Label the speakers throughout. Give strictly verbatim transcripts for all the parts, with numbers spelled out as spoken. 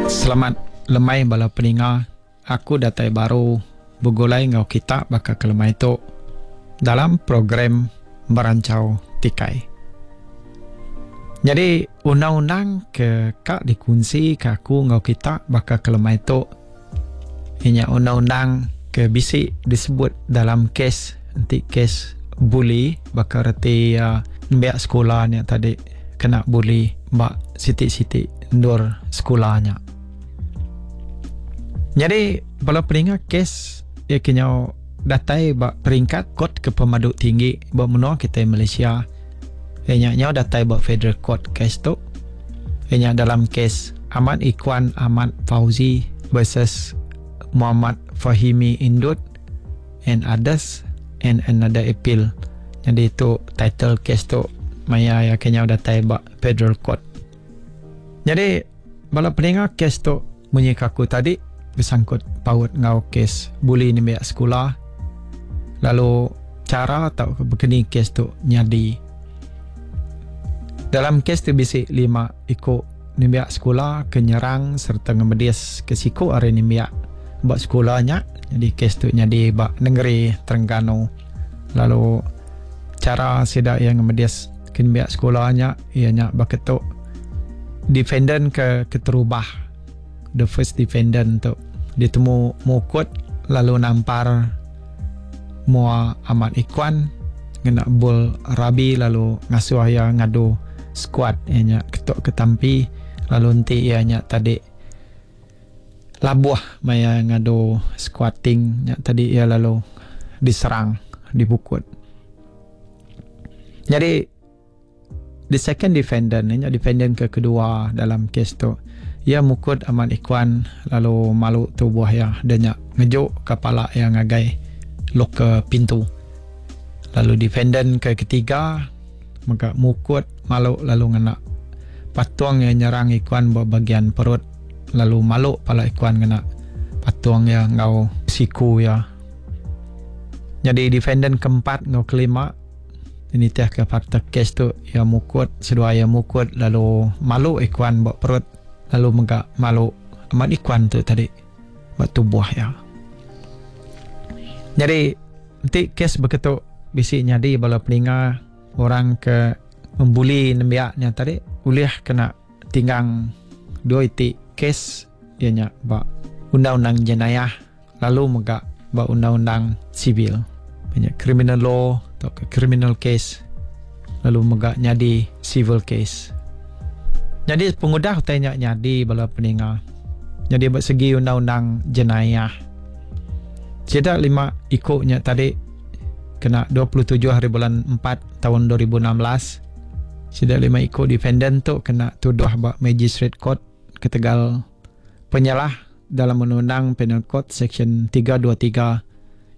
Speaker 1: Selamat lemai bala peninga. Aku datai baru begulai enggau kita baka ke lemai tu dalam program Merancau Tikai. Nyadi undang-undang ke ka dikunsi ke aku enggau kita baka ke lemai tu iya nya undang-undang ke bisi disebut dalam kes enti kes bully baka reti iya nembiak sekula nya tadi kena bully ba siti-siti endur sekula nya. Nyadi bala peninga kes iya ke nyau datai ba peringkat kot ke pemadu tinggi ba menua kitai Malaysia iya nya nyau datai ba Federal Court kes tu iya nya dalam kes Ahmad Ikhwan Ahmad Fauzi versus Muhammad Fahimi Indut and others and another appeal. Nyadi tu title kes tu maya iya ke nyau datai ba Federal Court. Nyadi bala peninga kes tu munyi ke aku tadi besangkut paut enggau kes buli nembiak sekula lalu chara tauka bekeni kes tu nyadi. Dalam kes tu bisi lima iku nembiak sekula ke nyerang sereta ngemedis ke siku ari nembiak ba sekula nya. Nyadi kes tu nyadi ba nengeri Terengganu lalu chara sida iya ngemedis ke nembiak sekula nya iya nya baka tu. Defendant ke keterubah, the first defendant tu ditemu mukut lalu nampar mua Ahmad Ikhwan ngena bol rabi lalu ngasuh iya ngadu squat iya nya ketuk ketampi lalu enti iya nya tadi labuh maya ngadu squatting nya tadi iya lalu diserang dipukut. Nyadi the second defendant nya defendant ke kedua dalam kes tu iya mukut Ahmad Ikhwan lalu malu tubuh iya dia nya ngejuk kepala iya ngagai locker pintu. Lalu defendant ke ketiga mega mukut malu lalu ngena patung iya nyerang Ikhwan ba bagian perut lalu malu pala Ikhwan ngena patung iya enggau siku iya. Nyadi defendant keempat enggau kelima nitih ke fakta kes tu iya mukut seduai iya mukut lalu malu Ikhwan ba perut lalu mega malu Ahmad Ikhwan tu tadi ba tubuh iya. Nyadi enti kes beketu bisi nyadi bala peninga orang ke membuli nembiak nya tadi ulih kena tinggang dua iti kes iya nya ba undang-undang jenayah lalu mega ba undang-undang sivil. Nya criminal law atau ke criminal case lalu mega nyadi civil case. Jadi pengudah utai nya nyadi bala peninga. Jadi ba segi undang-undang jenayah. Sida lima iku nya tadi kena dua puluh tujuh hari bulan empat tahun dua ribu enam belas. Sida lima iku defendant tu kena tuduh ba magistrate court ketegal penyalah dalam undang-undang Penal Code Section tiga dua tiga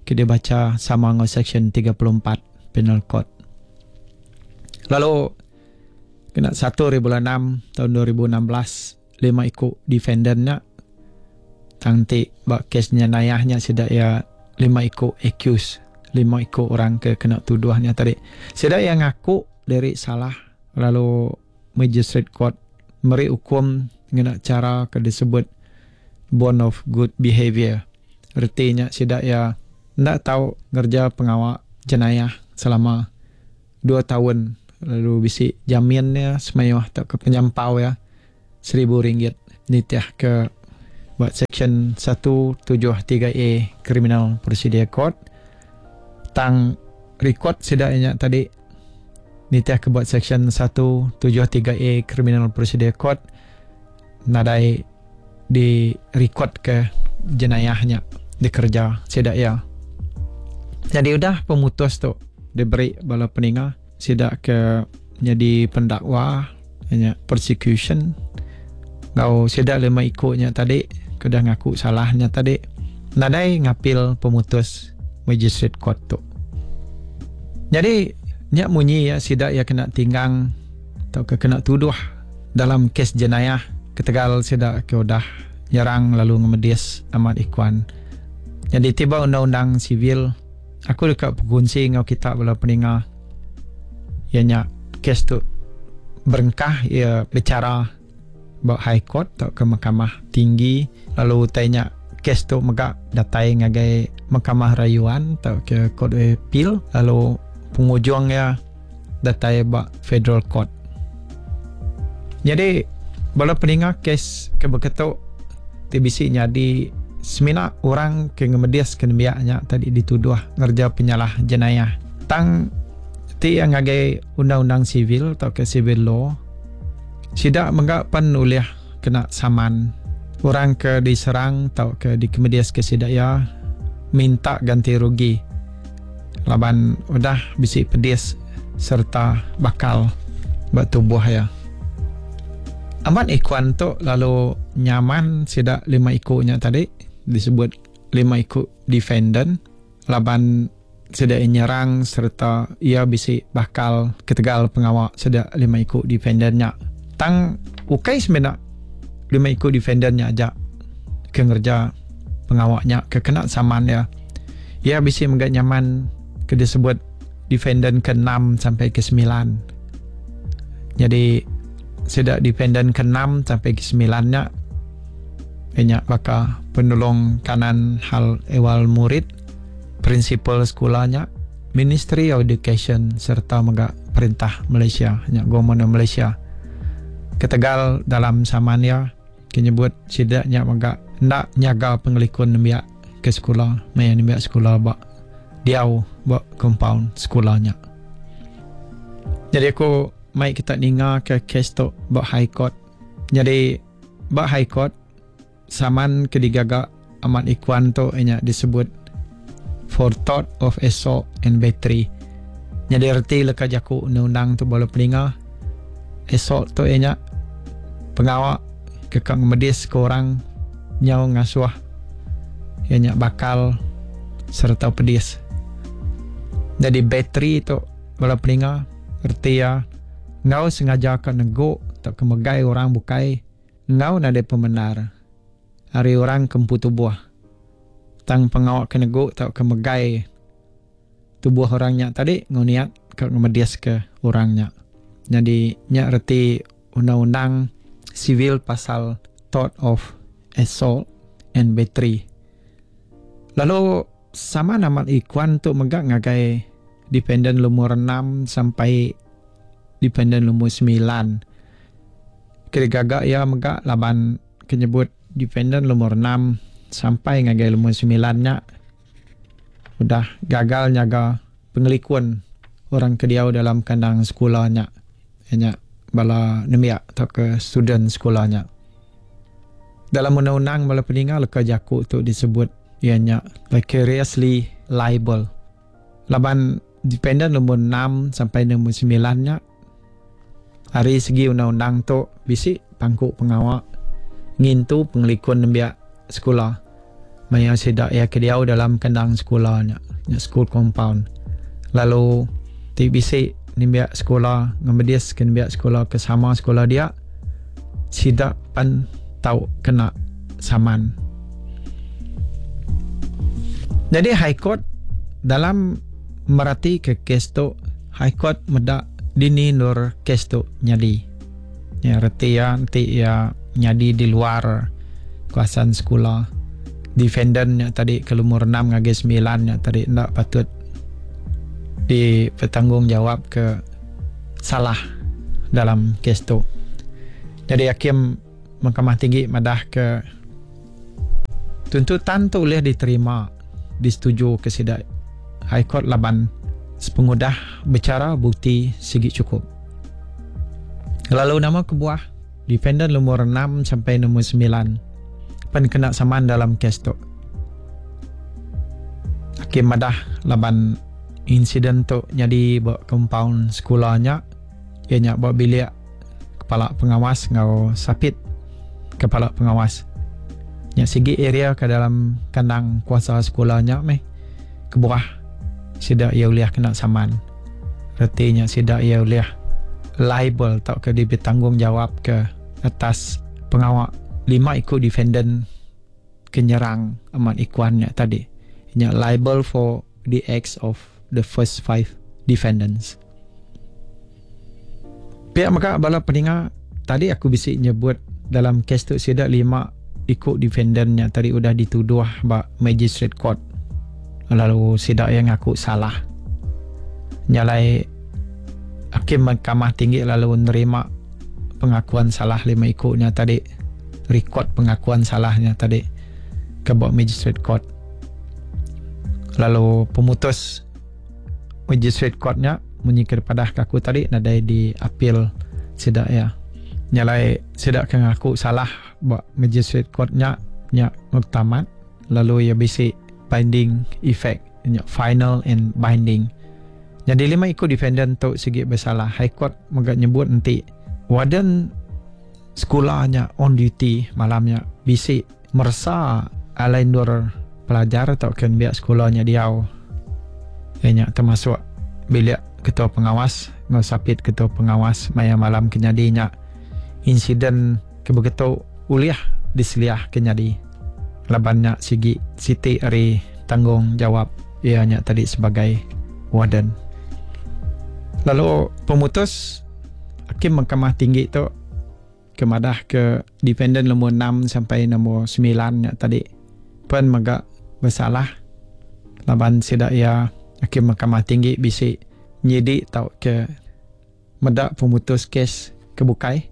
Speaker 1: ke dibaca sama dengan Section tiga puluh empat Penal Code. Lalu kena satu hari bulan enam tahun dua ribu enam belas lima iku defendant nya tang ti ba kes jenayahnya sida ia lima iku accused, lima iku orang ke kena tuduhnya tadi. Sida ia ngaku diri salah lalu magistrate court meri hukum ngena cara ke disebut bond of good behavior. Artinya sida ia ndak tahu ngerja pengawak jenayah selama dua tahun lalu bisi jaminnya semayuh atau ke penyampau ya seribu ringgit nitih ke buat section satu tujuh tiga A Criminal Procedure Code. Tang rekod sida nya tadi nitih ke buat section satu tujuh tiga A Criminal Procedure Code nadai di rekod ke jenayahnya dikerja sida ya. Jadi udah pemutus tu diberi bala peninga sida ke jadi pendakwa nya persecution ngau sida lima ikutnya tadi kedah ngaku salahnya tadi nadai ngapil pemutus magistrate court tu. Jadi nya munyi ya sida ya kena tinggang atau ke kena tuduh dalam kes jenayah ketegal sida ke udah nyerang lalu ngemedis Ahmad Ikhwan. Jadi tiba undang-undang sivil aku dekat berkongsi ngau kita bala peninga ya nya kes tu berengkah ia bicara ba High Court atau ke Mahkamah Tinggi, lalu utai nya kes tu mega datai ngagai Mahkamah Rayuan atau ke Court of Appeal, lalu pengujungnya datai ba Federal Court. Jadi bala peninga, kes ke beketu ti bisi nyadi semina orang ke ngemedis ke nembiaknya tadi dituduh ngerja penyalah jenayah. Tang ti yang ngagai undang-undang sivil atau ke civil law, sidak mega pan ulih kena saman. Orang ke diserang atau ke dikemedis ke sidak ya minta ganti rugi laban udah bisi pedis serta bakal ba tubuh ya. Amat Ikuan tu lalu nyaman sidak lima ikunya tadi disebut lima iku defendant laban sidak nyerang serta ia bisi bakal ketegal pengawak sidak lima iku defendantnya. Tang ukai semena lima iku defendantnya aja ke ngerja pengawaknya ke kena saman ya. Ia bisi mega nyaman ke disebut defendant ke enam sampai ke sembilan. Jadi sidak defendant ke enam sampai ke sembilan nya banyak baka penolong kanan hal ehwal murid, prinsipal sekolahnya, Ministry of Education serta mega perintah Malaysia, nya Government Malaysia. Ketegal dalam saman ya kenyebut sidaknya mega nak nyaga pengelikun nembiak ke sekolah, maya nembiak sekolah ba diau ba compound sekolahnya. Jadi aku mai kita ninga ke kes tu ba High Court. Jadi ba High Court saman ke digaga Ahmad Ikhwan tu nya disebut for tort of assault and battery. Jadi erti leka jaku undang-undang tu bala peninga, assault tu nya pengawak kekang medis ke orang nyau ngasuh ianya bakal serta pedis. Jadi battery tu bala peninga erti ya ngau sengaja ka neguk atau kemegai orang bukai ngau nade pemenar hari orang kempu tubuh. Tang pengawak ke neguk atau kemegai tubuh orangnya tadi ngau niat ke ngemedis ke orangnya. Jadi nyak reti undang-undang sivil pasal tort of assault and battery. Lalu sama nama Ikhwan tu megak ngagai defendant lumur enam sampai defendant lumur sembilan. Kira gagak ya megak laban kenyebut defendant lumur enam sampai ngagai lumur sembilan nya udah gagal nyaga pengelikun orang ke diau dalam kandang sekolahnya. Nya bala nembiak atau ke student sekolahnya. Dalam undang-undang bala peninga leka jaku tu disebut ianya vicariously liable. Laban dependent nombor enam sampai nombor sembilan nya hari segi undang-undang tu bisi pangku pengawak ngintu pengelikun nembiak sekolah. Maya sidak ia ke diau dalam kandang sekolahnya, nya school compound. Lalu ti bisi nembiak sekolah ngemedis ke nembiak sekolah ke sama sekolah dia sidak pan tau kena saman. Jadi High Court dalam merati ke kes tu, High Court medak dini nur kes tu nyadi. Ya reti ya nanti ya nyadi di luar kawasan sekolah. Defendant nya tadi ke lumur enam ngagai sembilan nya tadi ndak patut dipertanggungjawab ke salah dalam kes tu. Jadi hakim Mahkamah Tinggi madah ke tuntutan tu boleh diterima, disetujui ke sidak High Court laban sepengudah bicara bukti sigi cukup. Lalu nama kebuah defendant nomor enam sampai nomor sembilan pen kena saman dalam kes tu. Hakim madah laban insiden tu jadi ba compound sekolahnya, ianya ba bilik kepala pengawas ngau sapit kepala pengawas. Nya sigi area ke dalam kandang kuasa sekolahnya meh kebuah sidak ia uliah kena saman. Retinya sidak ia uliah liable atau ke dibertanggungjawab ke atas pengawak lima ikut defendant kenyerang Ahmad Ikhwannya tadi. Nya liable for the acts of the first five defendants. Pihak maka bala peninga tadi aku bisi nyebut Dalam kes tu sida lima ikut defendantnya tadi udah dituduh ba magistrate court. Lalu sida yang ngaku salah. Nyalai hakim mahkamah tinggi lalu nerima pengakuan salah lima ikutnya tadi, rekod pengakuan salahnya tadi ke ba magistrate court. Lalu pemutus magistrate courtnya munyi kepada aku tadi nadai di appeal sida ya. Nyalai sida ke ngaku salah ba magistrate courtnya nya muktamad, lalu ia bisi binding effect, nya final and binding. Jadi lima ikut defendant tu sigi bersalah. High Court mega nyebut nanti warden sekolahnya on duty malamnya bisi meresa alai nur pelajar atau kan biak sekolahnya diau. Nya termasuk bilik ketua pengawas ngau sapit ketua pengawas maya malam kenyadinya insiden kebegitu uliah diseliah kenyadi. Labannya sigi siti ari tanggungjawab ianya tadi sebagai warden. Lalu pemutus hakim mahkamah tinggi tu kemadah ke defendant nombor enam sampai nombor sembilan nya tadi pen mega bersalah. Laban sida ia hakim mahkamah tinggi bisi nyidik tau ke medak pemutus kes kebukai.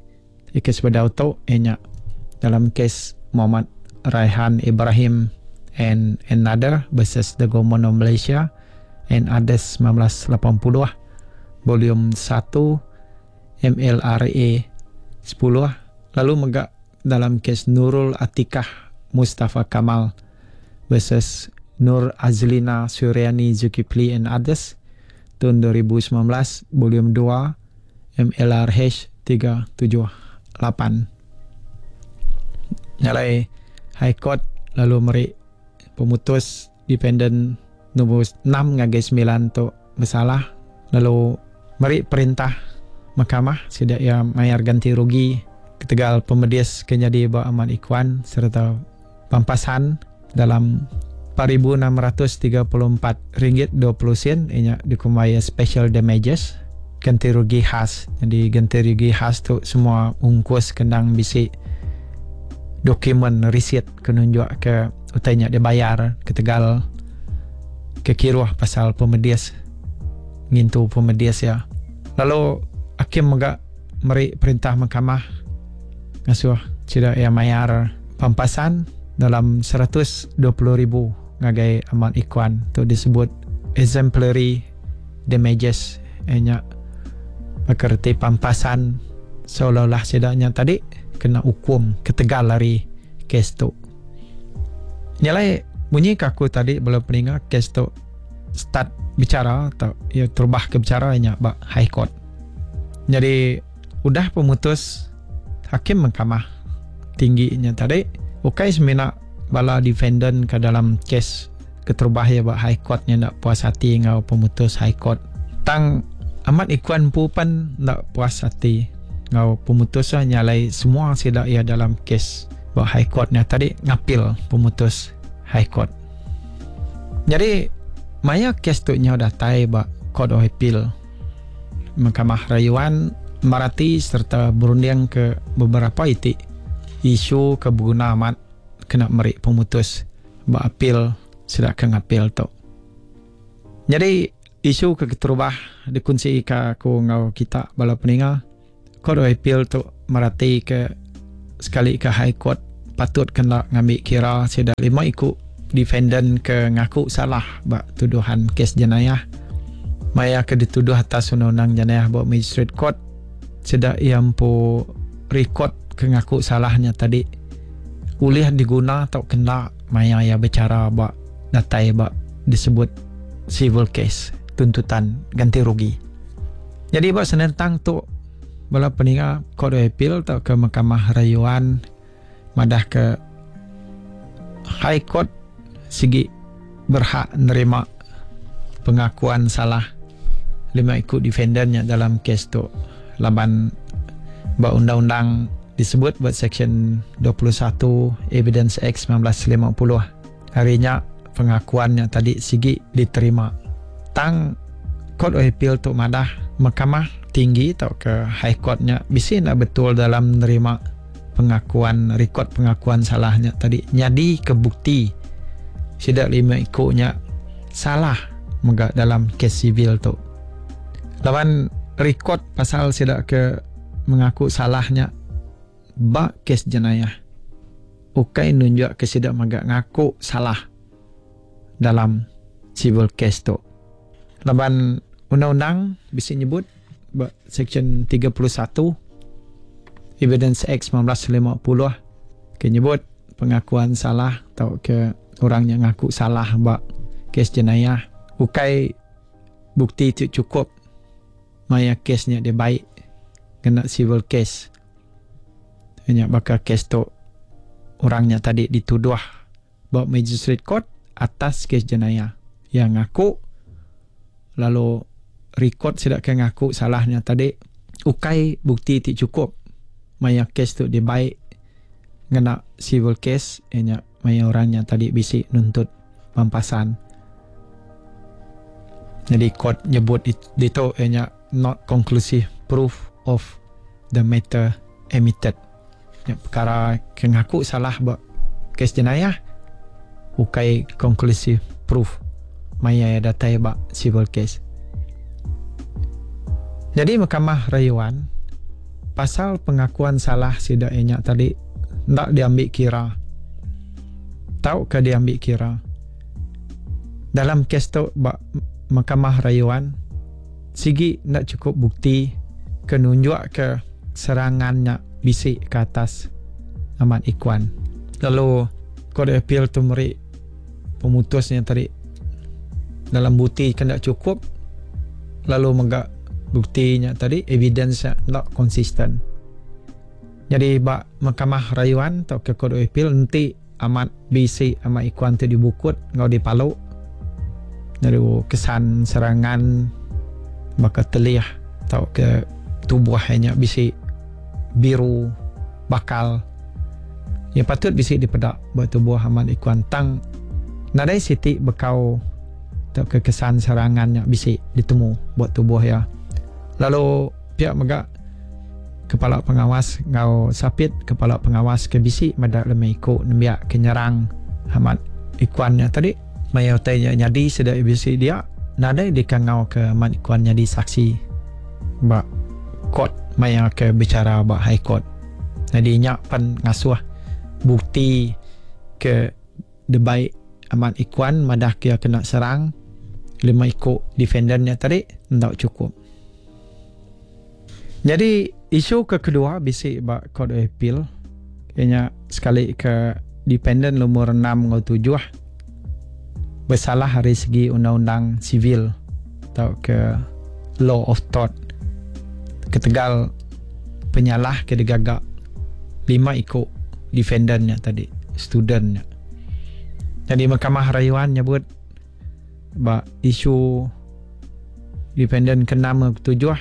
Speaker 1: Kes bedau tu ianya dalam kes Muhammad Raihan Ibrahim and another versus the Government of Malaysia and others sembilan belas lapan puluh volume satu M L R A sepuluh. Lalu mega dalam kes Nurul Atikah Mustafa Kamal versus Nur Azlina Suryani Zulkifli and others tahun dua ribu sembilan belas volume dua M L R H tiga tujuh lapan. Nyalai High Court lalu meri pemutus defendant nombor enam ngagai sembilan tu bersalah, lalu meri perintah mahkamah sida ia mayar ganti rugi ketegal pemedis kenyadi ba Ahmad Ikhwan serta pampasan dalam empat ribu enam ratus tiga puluh empat ringgit dua puluh sen inya dikumaya special damages ganti rugi khas. Jadi ganti rugi khas tu semua ungkus kendang bisi dokumen receipt kenunjuk ke utainya dia bayar ketegal kekiruh pasal pemedis ngintu pemedis ya. Lalu hakim mega meri perintah mahkamah ngasuh sida ia mayar pampasan dalam seratus dua puluh ribu ngagai Ahmad Ikhwan tu disebut exemplary damages nya pekerti pampasan seolah-olah sidanya tadi kena hukum ketegal lari kes tu. Nyalai bunyi kaku tadi belum peninga kes tu start bicara atau ya terubah ke bicara nya ba High Court. Jadi udah pemutus hakim mahkamah tingginya tadi ukai semina bala defendant ke dalam kes keterubah ya ba High Court nya nak puas hati ngau pemutus High Court. Tang Ahmad Ikhwan pu pan nak puas hati ngau pemutus nyalai semua sida ia dalam kes ba High Court nya tadi ngapil pemutus High Court. Jadi maya kes tu nya datai ba Court of Appeal Mahkamah Rayuan merati serta berunding ke beberapa itik isu keberguna amat kena meri pemutus ba appeal sida ke ngapil tu. Jadi isu ke keterubah dikunci ke aku ngau kita bala peninga Court of Appeal tu merati ke sekali ke High Court patut kena ngambil kira sida lima ikut defendant ke ngaku salah ba tuduhan kes jenayah. Maya ke dituduh atas undang-undang jenayah ba magistrate court sida yang pu record ke ngaku salahnya tadi ulih diguna atau kena maya ya bicara ba datai ba disebut civil case tuntutan ganti rugi. Jadi ba senentang tu bala peninga Court of Appeal atau ke Mahkamah Rayuan madah ke High Court sigi berhak nerima pengakuan salah lima ikut defendantnya dalam kes tu. Laban ba undang-undang disebut buat section dua puluh satu Evidence Act sembilan belas lima puluh. Harinya pengakuannya tadi sigi diterima. Tang Court of Appeal tu madah mahkamah tinggi atau ke High Courtnya bisi nak betul dalam menerima pengakuan rekod pengakuan salahnya tadi nyadi ke bukti sida lima ikunya salah mega dalam kes sivil tu. Lawan rekod pasal sida ke mengaku salahnya ba kes jenayah ukai nunjuk ke sida mega ngaku salah dalam civil case tu. Laban undang-undang bisa nyebut ba section tiga puluh satu Evidence Act sembilan belas lima puluh ke nyebut pengakuan salah atau ke orang yang ngaku salah ba kes jenayah ukai bukti tu cukup maya kesnya dia baik kena civil case. Hanya bakal kes tu orangnya tadi dituduh ba magistrate court atas kes jenayah yang ngaku, lalu rekod sidak ke ngaku salahnya tadi ukai bukti ti cukup maya kes tu dia baik ngena civil case, ianya maya orangnya tadi bisi nuntut pampasan. Jadi court nyebut dito ianya not conclusive proof of the matter admitted. Ya, perkara ke ngaku salah ba kes jenayah ukai conclusive proof maya datai ba civil case. Jadi Mahkamah Rayuan pasal pengakuan salah sida ianya tadi ndak diambil kira. Tau ke diambil kira. Dalam kes tu ba Mahkamah Rayuan sigi ndak cukup bukti ke nunjuk ke serangannya bisik ke atas Ahmad Ikhwan. Lalu Court Appeal tu meri pemutusnya tadi dalam bukti kan tak cukup, lalu megak buktinya tadi evidence tak konsisten. Jadi bak Mahkamah Rayuan atau ke Court Appeal nanti amat bisik Ahmad Ikhwan tu dibukut ngau dipaluk. Lalu kesan serangan bakal telih atau ke tubuhnya bisik biru bakal yang patut bisik dipedak buat tubuh Ahmad Ikhwan tang nadai siti bekau atau ke kesan serangannya bisik ditemu buat tubuh ya. Lalu pihak megak kepala pengawas ngau sapit kepala pengawas ke bisik madak lemai ikut nembiak ke nyerang Ahmad Ikhwannya tadi maya utainya nyadi sedak bisik dia nadai dikangau ke Ahmad Ikhwan nyadi saksi bak court maya ke bicara bak high court. Jadi nyak pan ngasuh bukti ke debaik Ahmad Ikhwan madah kia kena serang lima ikut defendernya tadi ndak cukup. Jadi isu ke kedua bisik bak Court of Appeal kayaknya sekali ke dependent nomor enam ngau tujuh bersalah dari segi undang-undang sivil atau ke law of tort ketegal penyalah ke digagak lima ikut defendantnya tadi studentnya. Jadi Mahkamah Rayuan nyebut bak isu defendant ke enam ke tujuh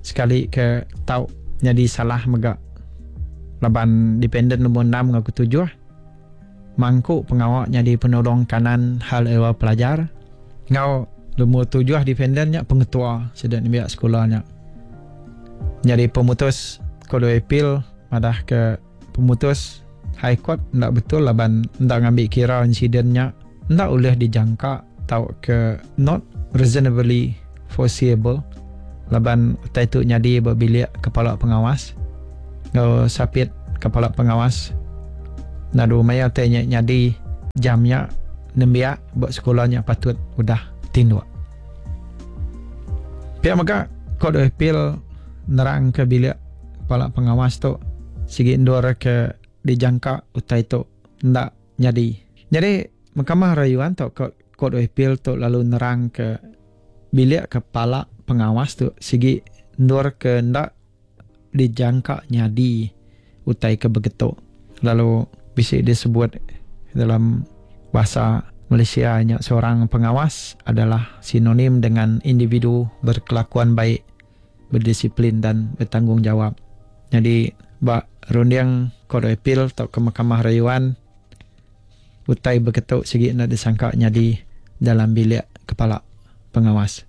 Speaker 1: sekali ke tau jadi salah megak laban dependent nombor enam ke tujuh mangkuk pengawak jadi penolong kanan hal ehwal pelajar ngau nombor tujuh defendantnya pengetua sedang nembiak sekolahnya. Jadi pemutus Court of Appeal madah ke pemutus High Court ndak betul laban ndak ngambil kira insidennya ndak boleh dijangka tau ke not reasonably foreseeable laban utai tu nyadi berbilik kepala pengawas ngau sapit kepala pengawas nadu maya utai nyadi jamnya nembiak buat sekolahnya patut udah tinduk. Pihak mega Court of Appeal nerang ke bilik kepala pengawas tu sigi endur ke dijangka utai tu ndak nyadi. Jadi Mahkamah Rayuan atau Court of Appeal tu lalu nerang ke bilik kepala pengawas tu sigi endur ke ndak dijangka nyadi utai ke begitu. Lalu bisa disebut dalam bahasa Malaysia nya seorang pengawas adalah sinonim dengan individu berkelakuan baik, berdisiplin dan bertanggungjawab. Jadi bak runding Court of Appeal atau ke Mahkamah Rayuan utai begitu segi nak disangka nyadi dalam bilik kepala pengawas.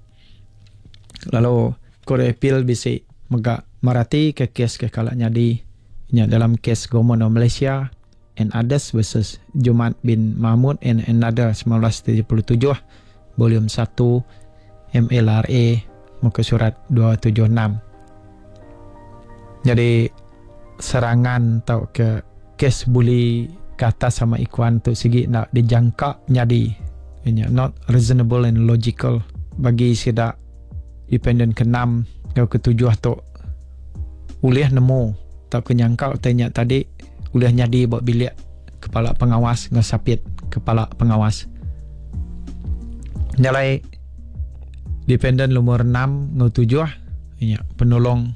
Speaker 1: Lalu Court of Appeal bisi megak merati ke kes ke kalak nyadi Nya dalam kes Government of Malaysia and Others versus Jumat bin Mahmud and Another seribu sembilan ratus tujuh puluh tujuh, volume satu M L R A muka surat dua tujuh enam. Jadi serangan atau ke kes buli ke atas sama ikuan tu sigi nak dijangka nyadi. Nya not reasonable and logical bagi sidak dependent keenam atau ketujuh tu ulih nemu atau kenyangka tanya tadi ulih nyadi buat bilik kepala pengawas dengan sapit kepala pengawas. Nyalai dependent nomor enam ngau tujuh nya penolong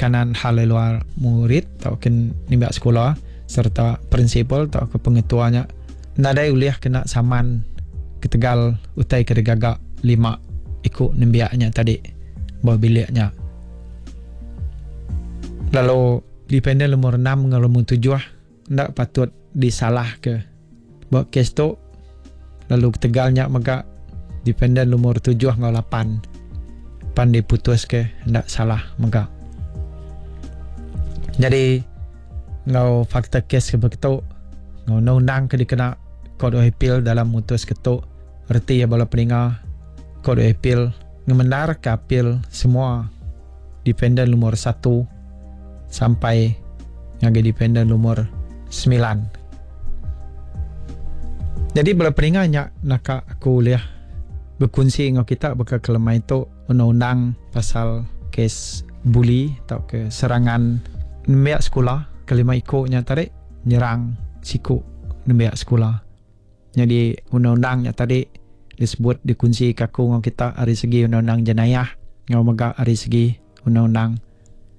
Speaker 1: kanan hal luar murid atau ken nimba sekolah serta prinsipal atau ke pengetuanya nadai ulih kena saman ketegal utai ke gagak lima ikut nembiaknya tadi bawa biliknya. Lalu dependent nomor enam dengan nomor tujuh ndak patut disalah ke buat kes tu. Lalu ketegalnya mega dependent nomor tujuh dengan lapan pan diputus ke ndak salah mega. Jadi ngau fakta kes ke begitu ngau undang-undang ke dikena Court of Appeal dalam mutus ketuk reti ya bala peninga Court of Appeal ngemendar ke appeal semua dependent nomor satu sampai ngagai dependent nomor sembilan. Jadi bala peninga nya naka aku liah berkongsi dengan kita bakal kelemah itu undang-undang pasal kes bully atau ke serangan nembiak sekolah kelima ikutnya tarik nyerang siku nembiak sekolah. Jadi undang-undangnya tadi disebut dikunci kaku dengan kita dari segi undang-undang jenayah ngau mega dari segi undang-undang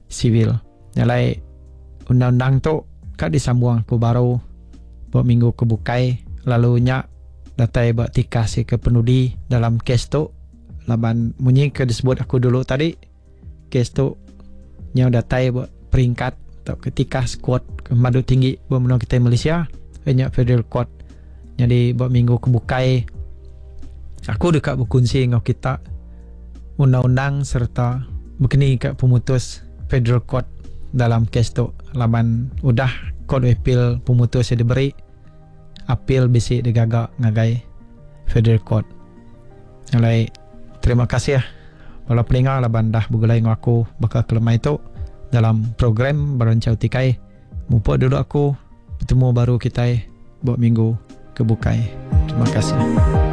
Speaker 1: sivil. Nyalai undang-undang tu kat disambung aku baru buat minggu kebukai lalu nya datai buat tikas ke penudi dalam kes tu laban munyi ke disebut aku dulu tadi kes tu nya datai buat peringkat atau ketika squad ke madu tinggi buat menua kita Malaysia nya Federal Court. Jadi buat minggu kebukai aku dekat berkongsi dengan kita undang-undang serta berkeni kat pemutus Federal Court dalam kes tu laban udah Court of Appeal pemutus yang diberi appeal bisi digagak ngagai Federal Court. Alai terima kasih bala peninga laban dah bergulai dengan aku bakal kelemai tu dalam program Berancau Tikai. Mupuk dulu aku bertemu baru kita buat minggu kebukai. Terima kasih.